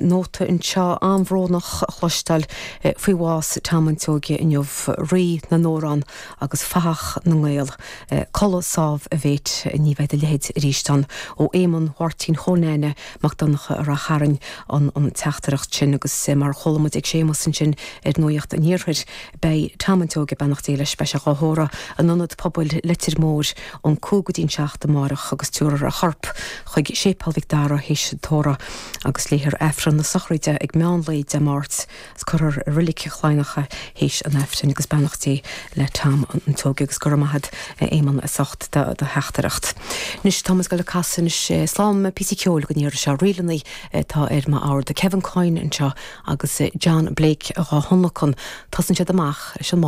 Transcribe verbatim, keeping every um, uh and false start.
Nóta anseo an-bhrónach a chloisteáil faoi bhás Tom an tSeoighe inniu rí na n-amhrán agus fathach na nGael. Codladh sámh a mhéit ní bheidh a leithéid arís ann ó Éamonn Mháirtín Chóil Neaine Mac Donncha a Rath Chairn an an teachtaireacht sin agus mar chuala muid ag Séamus ansin ar Nuacht an Iarthair beidh Tom an tSeoighe beannacht Dé leis beidh sé á thórramh in ionad pobail Leitir Móir ón cúig go dtí'n seacht amárach agus tabharfar a chorp chuig Séipéal Mhic Dara théis an tórraimh agus léifear Aifreann na sochraide ag meán lae Dé Máirt is cuirfear i Reilig Chladhnach é théis an Aifrinn agus beannacht Dé le Tom an tSeoighe agus go raibh maith agat Éamonn as ucht do theachtaireacht. Anois tá go le casan sé slám píosa ceoil go ndéar seo rílanna tá ar m'ord Kevin Coyne anseo agus John Blake dhá thionlacan Tosaíonn siad amach leis an má